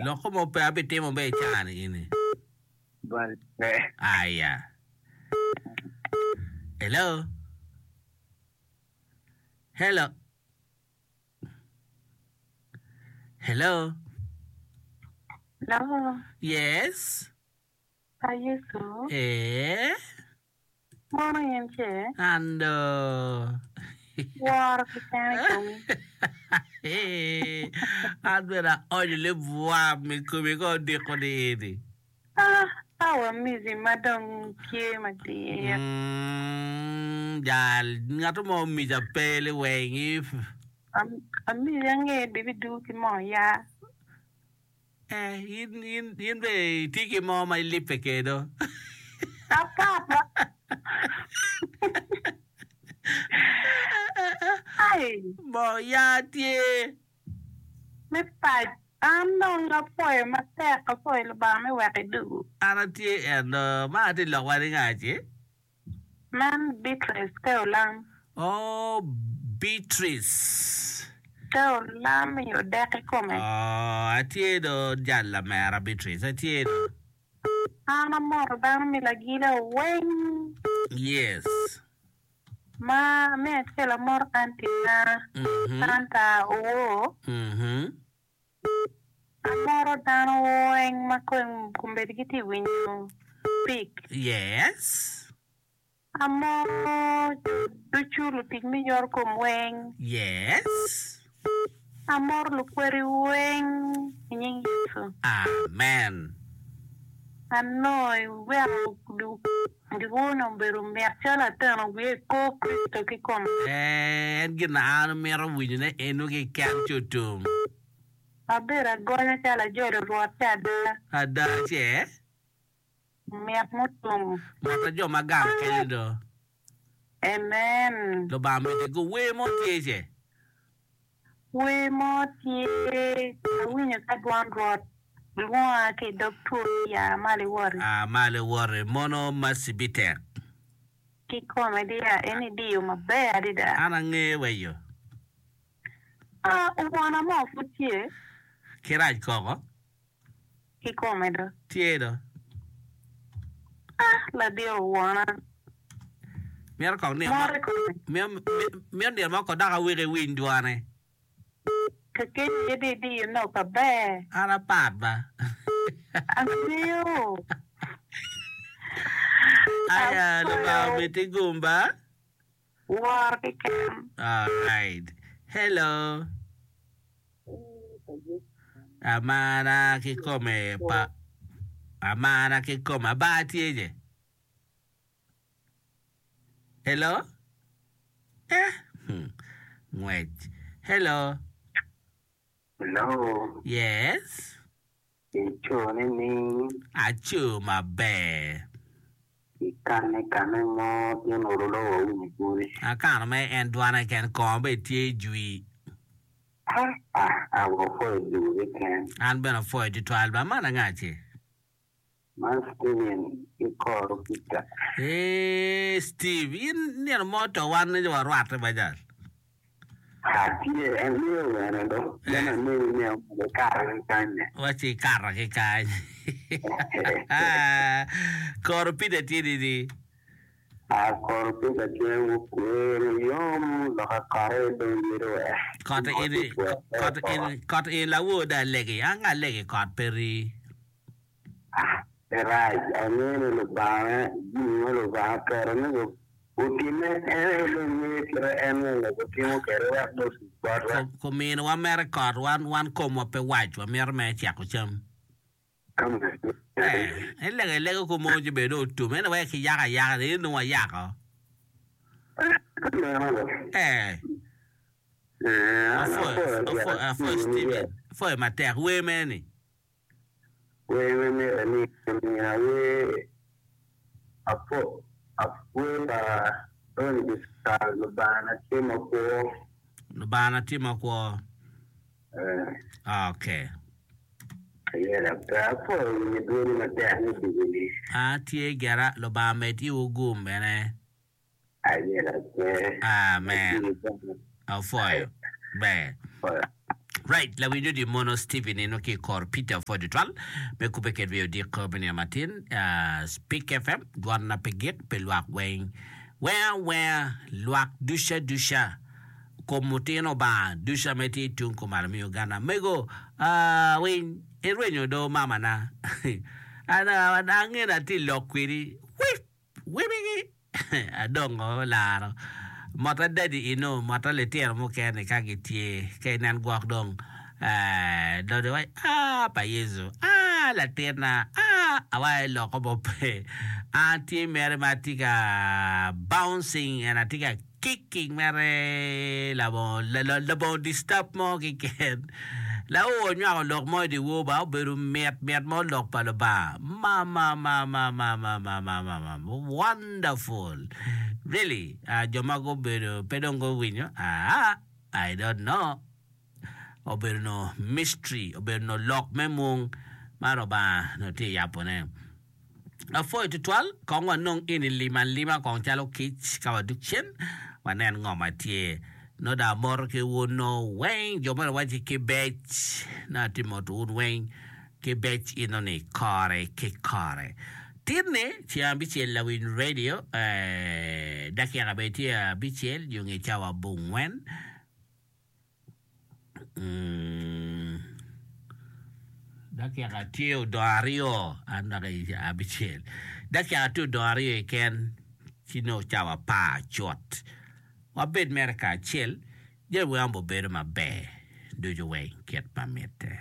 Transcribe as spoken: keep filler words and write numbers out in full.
Loko mo pe abitimo be icani ini. Bal pe. Aya. Hello. Hello. Hello. Hello. Yes. Pa Yecu. Eh. Mono in ce? Ando. Woro ki kene i komi. An bene aonyo libwam i komi ka odiko ni ini. Ah, awa mizi ma dong tye madit. Mm, jal, ngat mo omica pe liweng if. Am- Amizi ange bibidu ki moo ya. Eh, in, in, in be itye ki mo ma ilipe kedo. Apapa. Ai, Mo ya tye. me pac. An dong apwoyo matek, apwoyo Lubanga me wek idugu. An atye eno, ma atye lok wa ni nga ce? Man Beatrice te olam. Oh, Beatrice. Te olam i odek i kome. Oh, atye do jal lamera Beatrice, atye do. An amoto dano mi lagila weng. Yes. Ma me acel amoto anti na Mhm. Santa Owor. Mhm. Amoro dano weng ma kom kombeddi gitye winyo pik. Yes. Amoro jo ducu lutic me yor kom weng. Yes. Amoro lukweri weng i nying Yecu. Amen. Anongo iweko giwone obedo mit calo ateno wiye i kor Kricito kikome. Eh, en gin na an amito winyone eno keken ci otum. Abedo agonya calo ajolo Rwot ci ada. Ada ce? Mit mutum. Mota jo ma gang kenyo do. Amen. Lubanga miti go wer mo tye ce? Wer mo tye awinyo ka dwon Rwot lwonga ki i dog two ni ya malo iwoti. Ah, malo iwoti. Mono Macibitek. Kikome diya en idiyo maber adada. An angeyo weyo. Ah, owona mo pud tye. Ki rac koko. Kikome do. Tye do. Ah, ladit owona. Mito kong nino mo, Moro i kome. mito, mito nino mo ko dok aweko iwiny dwone. Kakeny aye di idiyo nok aber. An apat ba. Angeyo. Aya, Lubanga Apwoyo. omiti gum ba. Woro keken. Alright. Hello. Amara kikome pa amara kikome aba tye je. Hello. Eh. Hmm. Ngwec. Hello. Hello. Yes. Ico ni ning Aco maber. ikane kane mo in olulo wa winyo dwoni. Akano me en dwane ken kongo be tye jwi. Ah, ah, awo pwoyo dugu keken. An bene apwoyo tutwal ba man anga ce? Man Steven ikoro Peter. Eh, Steve, in nino mo to wan ni warwatte ba jal. Atye angeyo wene do. Then angeyo ni omede kare ki kanye. Waci ikato ki kany. Koro Peter tye nini? Ah, koro Peter tye wukwero yom loka kore dong yedo we. Kot ini, kot ini, kot ini lawo da alegi. Anga alegi kot peri. Ah, pe rac. Angeyo ni Lubanga, jami ma Lubanga keto ni otime en aye dong ngeyo kite en aye otimo kwede wek dong otuc botwa. Kuminowa mere kot wan wan komwa pe wac wamito mere ceko cam. Eh, ilego ilego ko mo ci bedo otum ene wek kiyako ayaka ni nongo wayako. Eh, apwoyo apwoyo apwoyo Steven, apwoyo matek wer mene ni. Wer me mite ni omina wer apo wer pa Tony Bisal Lubanga na tye makwo. Lubanga na tye makwo. Eh, Okay. ayela pe apwoyo winyo dwoni matek ni dugu-ni. Ah, tye gera Lubanga med iwu gum bene. Ayela pe. Amen. Ajiri bene. Apwoyo. Ber. Apwoyo. Right, lawinyo di mono Stephen eno ki kor Peter pwod tutwal me kubbe kedwa i odiko me nino matin. Uh, Speak F M, dwon na pe gik pi lwak weng. Weng awenga, lwak duca duca, kom mutino Obanga duca me tye tung kumalo me Uganda. Mego, uh, winy, irwenyo do mamana. An, ange na atye lok kwedi. Wip, wibigi. Adongo laro. Motta dadi ino, motta litino mukene ka gitye, ka inen gwok dong, eh, dong iwaci, Ah, pa Yecu, ah, latinna, ah, awaco loko mo pe. An tye mere ma atye ka bouncing and atye ka kicking mere labongo, labongo disturb mo keken. Laor onywako lok mo i dyewor ba obedo mit mit mo lok pa Lubanga. Mamamamamamamamamam. Wonderful. Really, uh, jo ma gubedo pe dong guwinyo. Ah, I don't know. Obedo no mystery, obedo no lok me mung ma Lubanga no tye yapone. Apwoyo tutwal, kong wanong eni lim alima kong calo kic ka wadug cen, wanen ngo ma tye. Nongo dong amoto ki wun nongo weng, jo moni wacci ki bec, nongo atye moto wun weng ki bec eno ni kore ki kore. Tinni ceng abicel lawiny radio, eh, dakika bene tye abicel nyo nge cawa abongwen. Dakika tye odong aryo an dok abicel dakika tye odong aryo keken ci nongo cawa apar cut wabed mere kacel jami weng obedo maber ducu weng kit ma mitte.